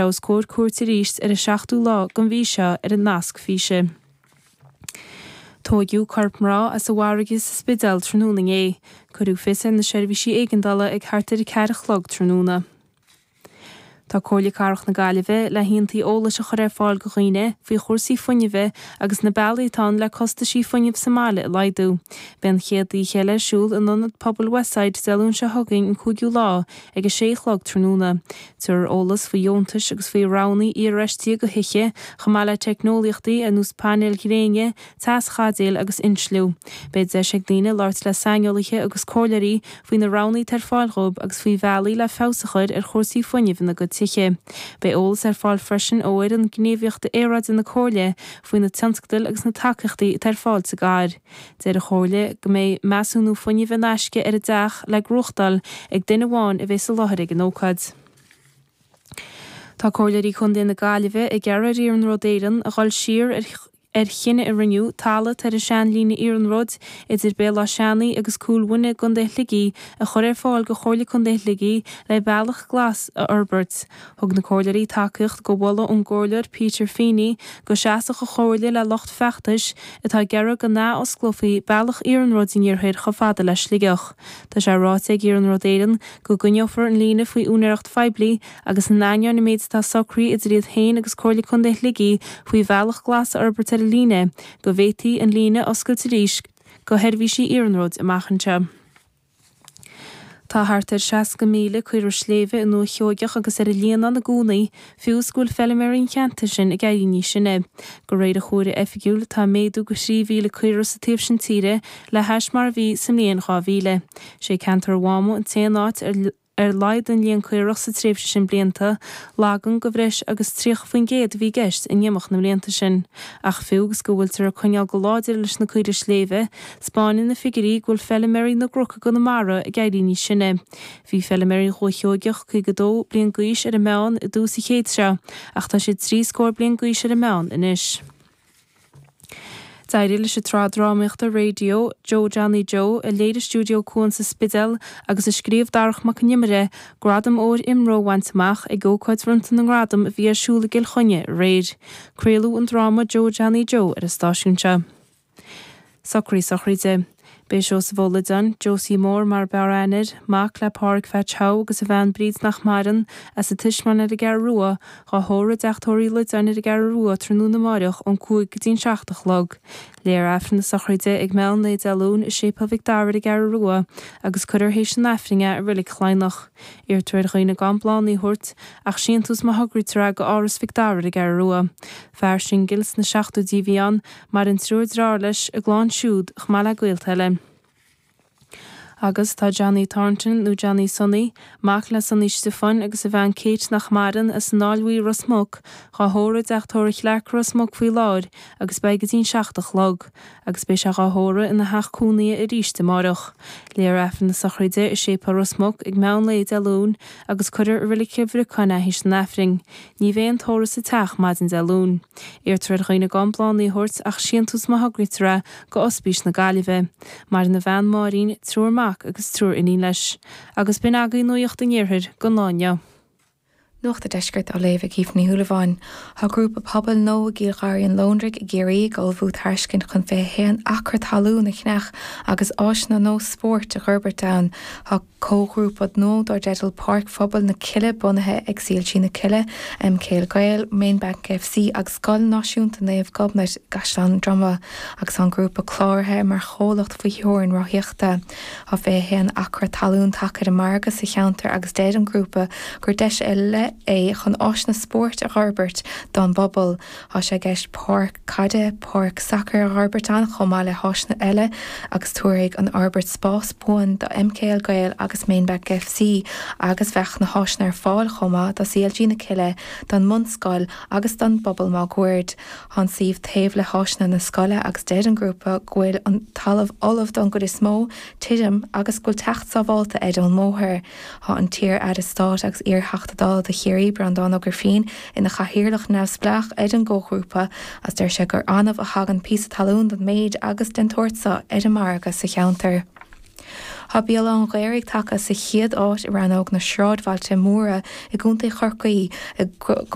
Os comhair cúirte arís ar an seachtú lá den mhí seo ar an nasc físe. Tóigeadh corp mná as an bhfarraige sa Spidéal tráthnóna inné. Cuireadh fios ar na seirbhísí éigeandála ag thart ar 4 a chlog tráthnóna. Tá Comhairle Cathrach na Gaillimhe le haontaí eolais a chur ar fáil do dhaoine faoi chúrsaí fuinnimhe agus na bealaí atá ann le costaisí fuinnimh sa mbaile a laghdú. Beidh an chéad oíche eile ar siúl in Ionad Pobail Westside Dé Luain seo chugainn an 5ú lá ag 6 a chlog tráthnóna. Tabharfar eolas faoi dheontais agus faoi roghanna iarfheistithe do thithe, chomh maith le teicneolaíochtaí ar nós painéil ghréine, teaschaidéil agus insliú. Beidh deis ag daoine labhairt le saineolaithe agus comhairleoirí faoi na roghanna atá ar fáil dhóibh agus faoi bhealaí le feabhas a chur ar chúrsaí fuinnimh ina gcuid tithe. Beidh eolas ar fáil freisin ó fhoireann gníomhaíochta aeráide na Comhairle faoi na tionscadail agus na tacaíochtaí atá ar fáil sa gcathair. Deir an Chomhairle go mbeidh measúnú fuinnimh in aisce ar an dteach le gnóthachtáil ag duine amháin a bheidh i láthair ag an ócáid. Tá Comhairleoirí Contae na Gaillimhe ag iarraidh ar Iarnród Éireann a dhul siar ar chinneadh a rinneadh talamh atá ar an seanlíne iarnróid idir Béal Átha Seanaidh agus Cúil Mhuine i gContae Shligigh a chur ar fáil do Chomhairle Contae Shligigh le bealach glas a fhorbairt. Thug na Comhairleoirí tacaíocht do mholadh ón gComhairleoir Peter Feeney go seasfadh an Chomhairle le lucht feachtais atá ag iarraidh go n-athosclófaí bealach iarnróid an iarthair chomh fada le Sligeach. Tá sé ráite ag Iarnród Éireann go gcoinneofar an líne faoi úinéireacht phoiblí agus in ainneoin an méid atá socraithe idir iad féin agus Comhairle Contae Shligigh faoi bhealach glas a fhorbairt ar an líne, go bhféadfaí an líne a oscailt arís do sheirbhísí iarnróid amach anseo. Tá thart ar 60,000 caora sléibhe i nDúiche Sheoigeach agus ar an Líonán i gcónaí, fiú is go bhfuil feilméaraí an cheantair sin ag éirí níos sine. De réir an chomhairimh oifigiúil, tá méadú de 3,000 caora sa taobh sin tíre le hais mar a bhí sa mbliain 2000. Sé ceantar an Mháma an t-aon áit ar ar laghdaigh an líon caorach sa tréimhse sin blianta, laghdú de bhreis agus 30% a bhí i gceist in imeacht na mblianta sin. Ach fiú agus go bhfuiltear ag coinneáil go láidir leis na caoirigh sléibhe, 'spáineann na figiúirí go bhfuil feilméaraí na gcnoc i gConamara ag éirí níos sine. Bhí feilméaraí Dhúiche Sheoigeach 52 bliain d'aois ar an meán i dtús an chéid seo, ach tá siad trí scór bliain d'aois ar an meán anois. D'éirigh leis an tsraith drámaíochta raidió Joe Johnny Joe, a léirigh Stiúideo Cuan sa Spidéal agus a scríobh Darach Mac Con Iomaire, Gradam Óir IMRO a bhaint amach ag ócáid bhronnta na ngradam a bhí ar siúl i gCill Chainnigh aréir. Craoladh an dráma Joe Johnny Joe ar an stáisiún seo. Socruithe sochraide. Beidh Seosamh Ó Loideáin, Josie Mór mar ab fhearr aithne air, mac le Pádhraic Pheaits Shaw agus a bhean Bríd nach maireann, as an Taispeáin ar an gCeathrú Rua, dhá thórramh i dTeach Tórraimh Uí Loideáin ar an gCeathrú Rua tráthnóna amáireach ón 5 go dtí an 7 a chlog. Léifear Aifreann na sochraide ag meán lae Dé Luain i Séipéal Mhic Dara ar an gCeathrú Rua agus cuirfear théis an Aifrinn é i Reilig Chladhnach. Iarrtar ar dhaoine gan bláthanna a thabhairt ach síntiús má thograítear é go Áras Mhic Dara ar an gCeathrú Rua. Fear singil sna seachtóidí a bhí ann, Maireann triúr dearthár leis, a gclann siúd, chomh maith le gaolta eile. Agus tá Johnny Thornton, nó Johnny Sonny, mac le Sonny Stiofáin agus a bhean Kate nach maireann, as an Fháil Bhuí, Ros Muc, dhá thórramh i dTeach Tórraimh Chlarke, Ros Muc faoi láthair agus beidh go dtí'n seacht a chlog. Agus beidh sé dhá thórramh ina theach cónaithe arís amáireach. Léifear Aifreann na sochraide i Séipéal Ros Muc ag meán lae Dé Luain agus cuirfear i Reilig Chill Bhriocáin é théis an Aifrinn. Ní bheidh an tórramh sa teach maidin Dé Luain. Iarrtar ar dhaoine gan bláthanna a thabhairt ach síntiús má thograítear é go Ospís na Gaillimhe. Maireann a bhean Máirín, triúr mac agus triúr iníon leis. Agus b'in agaibh Nuacht an Iarthair don lá inniu. Nuacht an Deiscirt á léamh ag Aoife Ní Shúilleabháin. Tá grúpa pobail nua i gCill Gharraí an Lóndraigh i gCiarraí ag ullmhú tairiscint chun 21 acra talún a cheannach agus áiseanna nua spóirt a dh'fhorbairt ann. Tá. Comhghrúpa nua dar dteideal Páirc Phobail na Cille bunaithe ag CLG na Cille, MKL Gael, Mainbank FC agus Scoil Náisiúnta Naomh Gobnait i gCaisleán Droma agus tá an grúpa cláraithe mar chomhlacht faoi theorainn ráthaíochta. Tá 21 acra talún tagtha ar an margadh sa cheantar agus deir an grúpa gur deis ar leith é chun áiseanna spóirt a dh'fhorbairt don bpobal. Tá sé i gceist páirc caide, páirc sacair a dh'fhorbairt ann chomh maith le háiseanna eile agus tabharfaidh an fhorbairt spás buan do MKL Gael agus Mainbank FC agus bheadh na háiseanna ar fáil chomh maith do CLG na Cille, don mbunscoil agus don bpobal máguaird. Tá an suíomh taobh le háiseanna na scoile agus deir an grúpa go bhfuil an talamh ullamh don gcuid is mó, tirim agus go bhfuil teacht sábhálta air ón mbóthar. Tá an t-iar-aire stáit agus iar-Theachta Dála do Chiarraí, Breandán Ó Grifín, ina chathaoirleach neamhspleách ar an gcomhghrúpa agus deir sé gur annamh a thagann píosa talún den méid agus den tsórt seo ar an margadh sa cheantar. Tá Béal Átha an Ghaorthaidh tagtha sa chéad áit i rannóg na sráidbhailte móra i gContae Chorcaí i.